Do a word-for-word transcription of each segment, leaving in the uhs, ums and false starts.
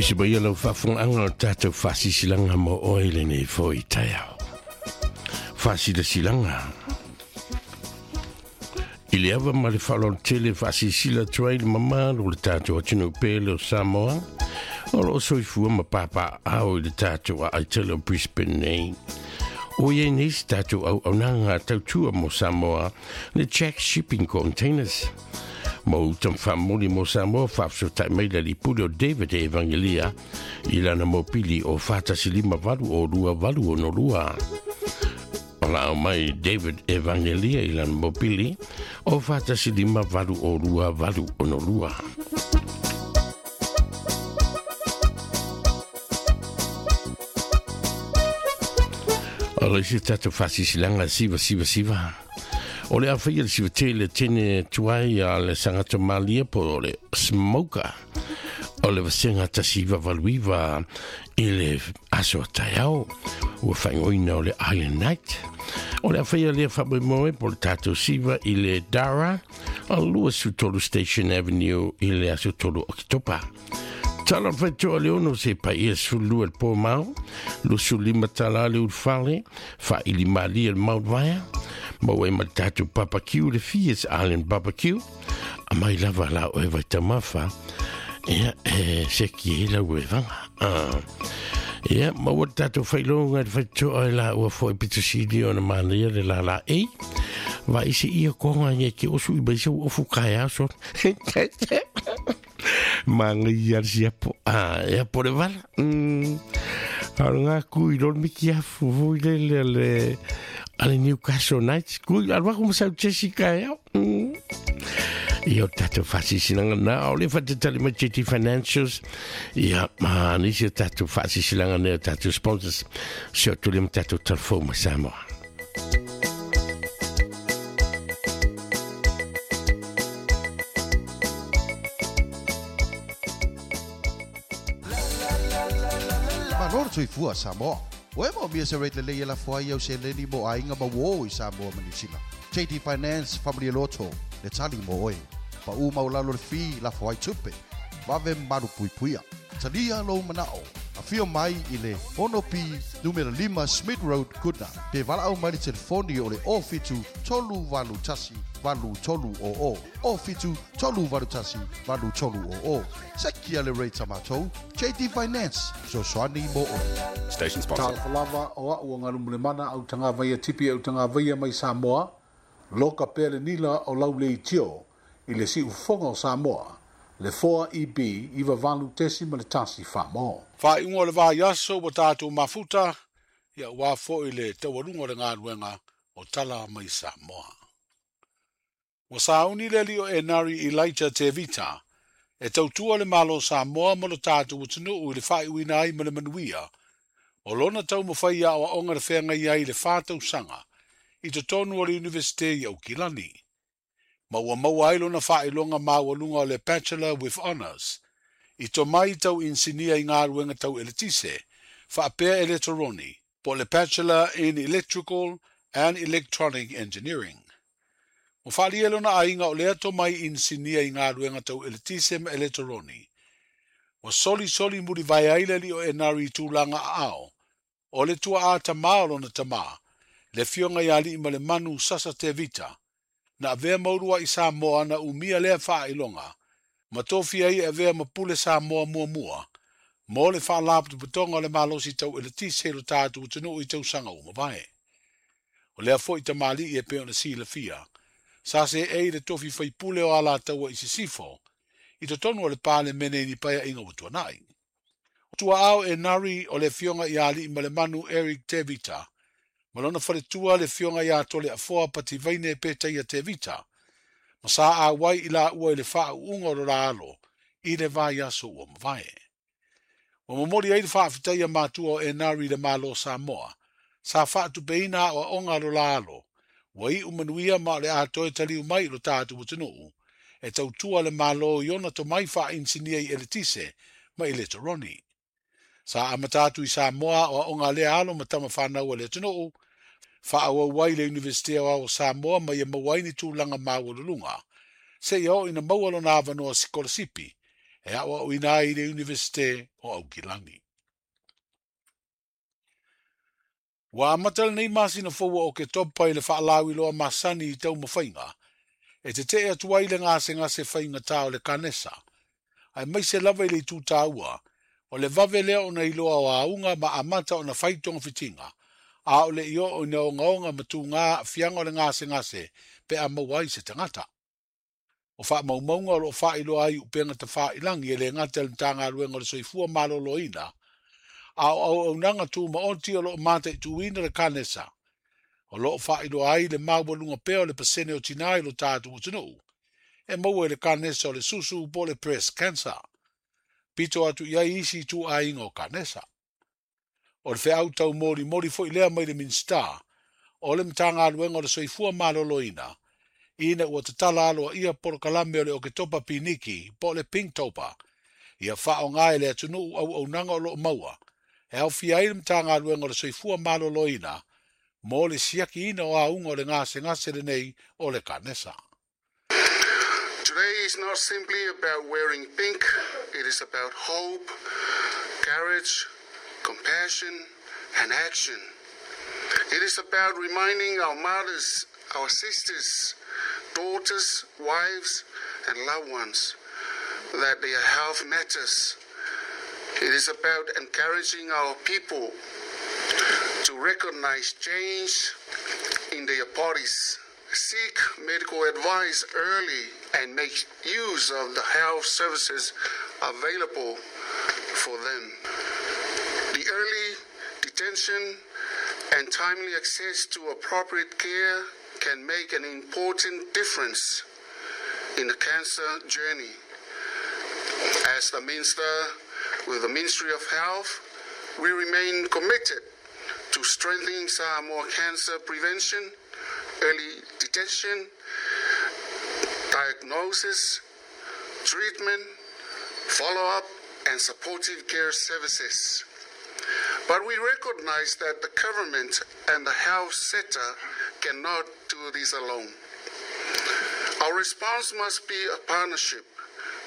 Isi mai lau faafogaaga o le tatou faasisilaaga mo oe i lenei foi taeao. Faasilasila i le ava ma le faaaloalo faasilasila atu ai le mamalu o le tatou atunuu pele o Samoa o loo soifua ma papaaao i le tatou aai tele o Brisbane nei. O iai nei se tatou auaunaga tautua mo Samoa, le Jack Shipping Containers. Mo uta faamomoli mo Samoa, faafesootai mai le alii pule o David Evangelia i lana mopili o fa tasi lima valu o lua valu ono lua. O la mai David Evangelia i lana mopili o fa tasi lima valu o lua valu ono lua. O le isi tatou faasisilaaga siva siva siva. O le afaia le siva tele tene tuai a le sagato malia po o le smoker. O le vasega tasi iva valu iva i le aso taeao ua faaigoaina o le Island Night. O le afaia lea faamoemoe po le tatou siva i le Dara o lua tolu Station Avenue i le aso tolu Oketopa. Tala faitoa le ono se paia sefululua le po mao, lusu lima tala le ulufale, faaili malie le Mount Vaea, maua ai ma le tatou barbecue le Fies Island Barbecue, a mai lava la o e vaitamafa, ia, e seki e lau e vanga. Ah. Ia, maua le tatou failoga le faitoa e la ua foi pitusili o na manaia le la la e. Va isi ia konga nge ke osu i baisa ofu kaya so. Manga ia siapo. Ah, ia po le vala. Mm. Alga kui lol miki afu voi le le le ale Newcastle Knights. Kui alwa kuma sau Jessica ya. Mm. Ia o tatou faasisilaaga na o le fatatali mai J T Financials. Ia ma nisi o tatou faasisilaaga nei o tatou sponsors. Se o tuli ma tatou telefou ma Samoa. Malo le soifua Samoa. Ua e maomia se rate lelei e lafo ai au seleni mo aiga ma uō i Samoa ma Niu Sila. J D Finance Family Loto le tali mo oe. Paʻu maulalo le fee lafo ai tupe. Vave malu puipuia. Talia lou manao. Afio mai i le ono P numera lima Smith Road Goodna. Pe valaau mai le telefoni o le o fitu tolu valu tasi valu tolu o o. O fitu tolu valu tasi valu tolu o o. Sekia le rate a matou. J D Finance. Sosoani mo o. Station sponsor. Talofa lava o au o ngalu au tanga vaia tipi au tanga vaia mai Samoa. Loka pea le nila o lau le itio i le siufofoga o Samoa. Le four E B iwa valu tesi ma le tasi wha. Whainga o le vaiaso ua tātou mafuta, ia ua foi le taualuga o le galuega o tala mai Samoa. Ua sauni le alii o Enari Elijah Tevita, e tautua le Malo Samoa ma lo tātou atunuu i le faaiuina ai ma le manuia, o lona taumafai aoaoga le feagai ai i le fa tausaga, i totonu o le Universite i Aukilani. Ma ua maua ai lona faailoga maualuga o le Bachelor with Honours, i tomai tau insinia i galuega tau eletise, faapea eletoroni, po le Bachelor in Electrical and Electronic Engineering. Ua faalia lona aiga o lea tomai insinia i galuega tau eletise ma eletoroni. Ua solisoli mulivae ai le alii o Enari i tulaga aao, o le tuaa tamā o lona tamā, le afioga ia alii ma le manu Sasa Tevita, na avea maurua i Samoa na umia lea faailoga, ma tofia ai e avea ma pule Samoa muamua, mo le faalapotopotoga o le malosi tau eletise i lo tatou atunuu i tausaga ua mavae. O lea foi tamalii e pei ona silafia, sa seei le tofi faipule o Alataua i Sisifo, i totonu o le Palemene i ni paeaiga ua tuanai. O tuaao Enari o le afioga ia alii ma le manu Eric Tevita, ma lona faletua le afioga ia Tole Afoa Pativaine Petaia Tevita, ma sa auai i laua i le faauuga o lo la alo i le vaiaso ua mavae. Ua momoli ai le faafetaia matua o Enari i le Malo Samoa, sa faatupeina aoaoga lo la alo, ua iu manuia ma o le atoe taliu mai i lo tatou atunuu, e tautua le Malo i ona tomai faainisinia i eletise ma eletoroni. Sa amata atu i Samoa aoaoga lea alo ma tama fanau a le atunuu, faaauau ai le Universite o Samoa ma ia maua ai ni tulaga maualuluga, seia oo ina maua lona avanoa sikolasipi E awa o ina i le Universite o Aukilani. Ua amata lenei masina fou o ke topa i le faalauiloa masani i taumafaiga, e tete'e atu ai le gasegase faigata o le kanesa, aemaise lava i le itu tāua, o le vave lea ona iloa o auga ma amata ona fai togafitiga, a o le i oo ina ogaoga ma tugā aafiaga o le gasegase pe a maua ai se tagata. O faamaumauga o loo faailoa ai upega tafailagi e le gata i le Matagaluega o le Soifua Maloloina, a o auaunaga tumaoti o loo mataituina le kanesa, o loo faailoa ai le maualuga pea o le pasene o tinā i lo tatou atunuu, e maua i le kanesa o le susu po o le breast cancer. Pito atu i ai isi ituaiga o kanesa. O le feau taumolimoli foi lea mai le Minisita o le Matagaluega o le Soifua Maloloina, ina ua tatala aloaia polokalame o le Oketopa Piniki po o le Pinktober, ia faaaoga e le atunuu auaunaga o loo maua, e aofia ai le Matagaluega o le Soifua Maloloina mo le siakiina o auga o le gasegase lenei o le kanesa. Today is not simply about wearing pink, it is about hope, courage, compassion, and action. It is about reminding our mothers, our sisters, daughters, wives, and loved ones that their health matters. It is about encouraging our people to recognize change in their bodies, seek medical advice early, and make use of the health services available for them. The early detection and timely access to appropriate care can make an important difference in the cancer journey. As the Minister with the Ministry of Health, we remain committed to strengthening Samoa cancer prevention, early detection, diagnosis, treatment, follow-up, and supportive care services. But we recognize that the government and the health sector cannot do this alone. Our response must be a partnership.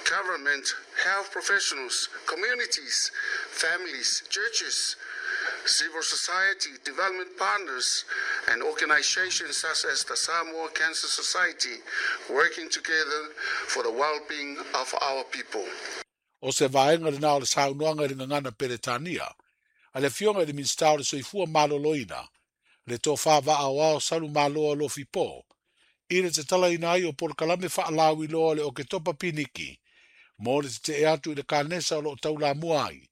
Government, health professionals, communities, families, churches, civil society, development partners, and organizations such as the Samoa Cancer Society, working together for the well-being of our people. O se vaega lena o le saunoaga i le gagana Peretania, a le afioga i le Minisita o le Soifua Maloloina, le tofā vaaoao salu maloa Alofi Po, i le tatalaina ai o polokalame faalauiloa le Oketopa Piniki, mo le tete'e atu i le kanesa o loo taulamua ai,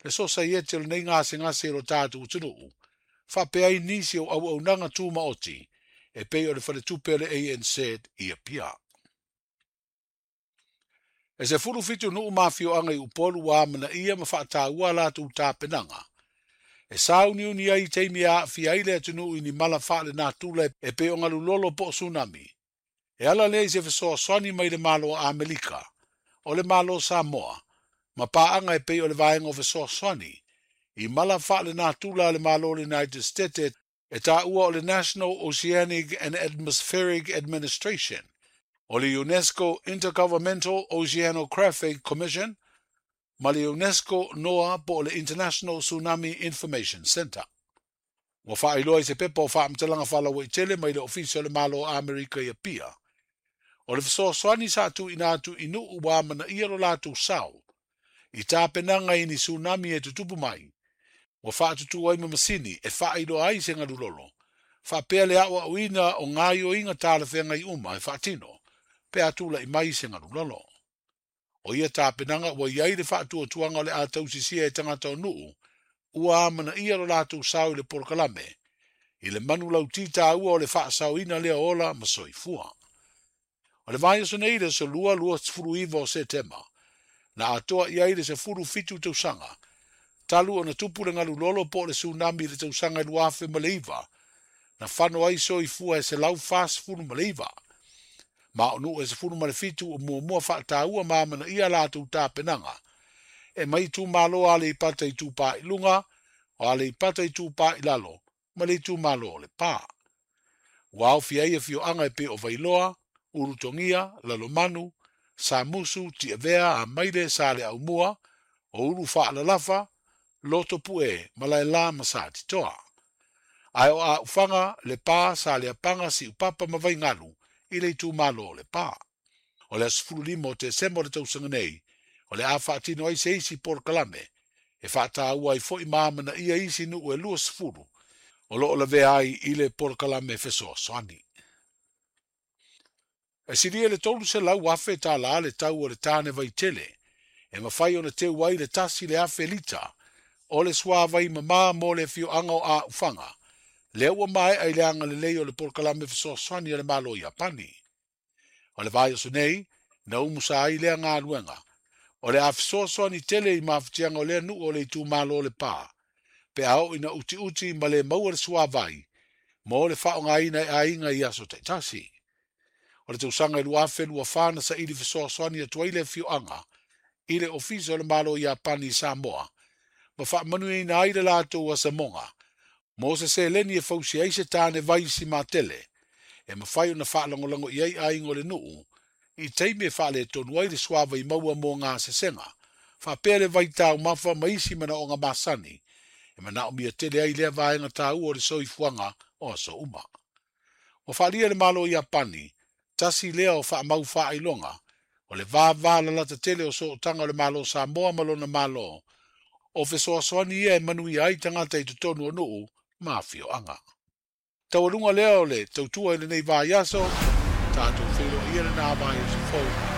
le sosaiete o lenei gasegase i lo tatou atunuu, faapea ai nisi o auaunaga tumaoti, e pei o le faletupe o le A N Z i Apia. E se fulu fitu nuu mafioaga i Upolu ua amanaia ma faataua latou tapenaga. E sauniuni ai i taimi e aafia ai le atunuu i ni mala faalenatura e pei o galulolo po o tsunami. E ala lea i se fesoasoani mai le Malo o Amerika, o le Malo Samoa, ma paaga e pei o le vaega o fesoasoani, i mala faalenatura a le Malo o le United States e taua o le National Oceanic and Atmospheric Administration, o le UNESCO Intergovernmental Oceanographic Commission, ma le UNESCO NOAA po o le International Tsunami Information Center. Ua faailoa i se pepa o faamatalaga faalauaitele mai le Ofisa o le Malo o Amerika i Apia. O le fesoasoani sa tuuina atu i nuu ua amanaia lo latou sao, i tapenaga i ni tsunami e tutupu mai, ua faatutū ai ma masini e faailoa ai se galulolo, faapea le aoaoina o gaioiga talafeagai uma e faatino, pe a tula'i mai se galulolo. O ia tapenaga ua iai le faatuatuaga o le a tausisia e tagata o nuu, ua amanaia lo latou sao i le polokalame, i le manu lautī tāua o le faasaoina lea ola ma soifua. O le vaiaso nei le aso lua lua sefulu iva o Setema, na atoa i ai le sefulu fitu tausaga, talu ona tupu le galulolo po o le tsunami i le tausaga i lua afe ma le iva, na fano ai soifua e selau fasefulu ma le iva. Ma o nuu e sefulu ma le fitu o muamua faataua ma amanaia latou tapenaga, e mai itumalo a Aleipata Itupā i luga, o Aleipata Itupā i lalo, ma le itumalo o Lepā. Ua aofia ai afioaga e pei o Vailoa, Ulutogia, Lalomanu, Samusu, Tiavea, Amaile, Sa le Aumua, o Ulu Faalalafa, Loto Pue, Malaela ma Satitoa. Ae o Aufaga, Lepa, Saleapaga, Siupapa ma Vaigalu, i le itumalo o Lepa. O le aso sefulu lima o Tesema o le tausaga nei, o le a faatino ai se isi polokalame, e faataua ai fo'i ma amanaia isi nuu e lua sefulu, o loo lavea ai i le polokalame fesoasoani. E silia le tolu selau afe tālā le tau o le tāne vaitele, e mafai ona teu ai le tasi le afe lita, o le suavai mamā mo le afioaga o Aufaga, lea ua maea i le agalelei o le polokalame fesoasoani a le Malo Iapani. O le vaiaso nei, na umusa ai lea galuega, o le a fesoasoani tele i mafatiaga o lea nuu o le itumalo o Lepa, pe a oo ina utiuti ma le maua le suavai, mo le faaaogaina e aiga i aso taitasi. O le tausaga e lua afe lua fa na saili fesoasoani atu ai le afioaga i le ofisa o le Malo Iapani i Samoa, ma faamanuiaina ai le latou asamoga, mo se seleni e fausia ai se tāne vai simatele, e mafai ona faalagolago i ai aiga o le nuu, i taimi e faaletonu ai le suavai maua mo gasesega, faapea le vaitaumafa ma isi manaoga masani, e manaomia tele ai lea vaega taua o le soifuaga o aso uma. Ua faalia le Malo Iapani, tasi lea o faamau faailoga, o le vava lalata tele o sootaga o le Malo Samoa ma lona Malo, o fesoasoani ia e manuia ai tagata i totonu o nuu ma afioaga. Taualuga lea o le tautua i lenei vaiaso, tatou feiloai ia lena vaiaso fou